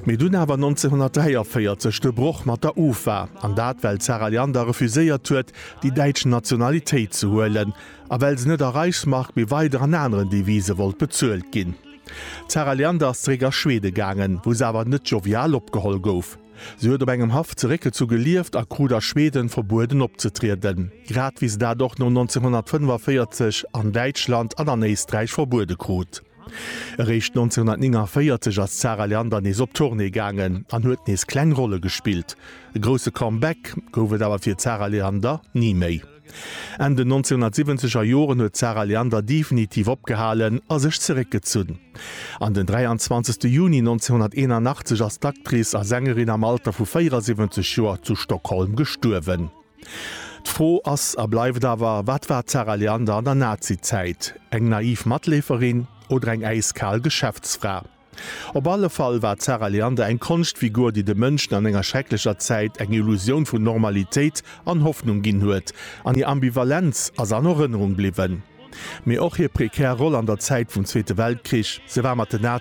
Mee dunn awer 1943 de Broch mat der UFA, an dat well d'Zara Leander refuséiert huet, déi däitsch Nationalitéit ze huelen, a well se net a Reichsmark, mee weider an aneren Devise wollt bezuelt ginn. D'Zara Leander ass zeréck a Schwede gaangen, wou se awer net jovial opgeholl gouf. Se huet op engem Haff zeréckgezu gelieft a krut a Schweden verbueden opzetrieden, grad wéi se dat och no 1945 an Däitschland an an Éisträich verbuede krut. Eréischt 1949 ass d'Zara Leander nees op Tournée gaangen an huet nees kleng Rolle gespillt. E grousse Comeback gouf et awer fir d'Zara Leander ni méi. Enn den 1970 er Joren huet d'Zara Leander definitiv opgehalen a sech zeréckgezunn. An den 23 Juni 1981 ass d'Actrice a Sängerin am Alter vu 74 Joer zu Stockholm gestuerwen. D'Fro ass a bleift awer, Wat war d'Zara Leander an der Nazizäit? Eng naiv Matleeferin oder eng äiskal Geschäftsfra? Op alle Fall war d'Zara Leander eng Konschtfigur, déi de Mënschen an enger schrecklecher Zäit eng Illusioun vun Normalitéit an Hoffnung ginn huet, an hir Ambivalenz ass an Erënnerung bliwwen. Mee och hir prekär Roll an der Zäit vum Zweete Weltkrich, se war mat den.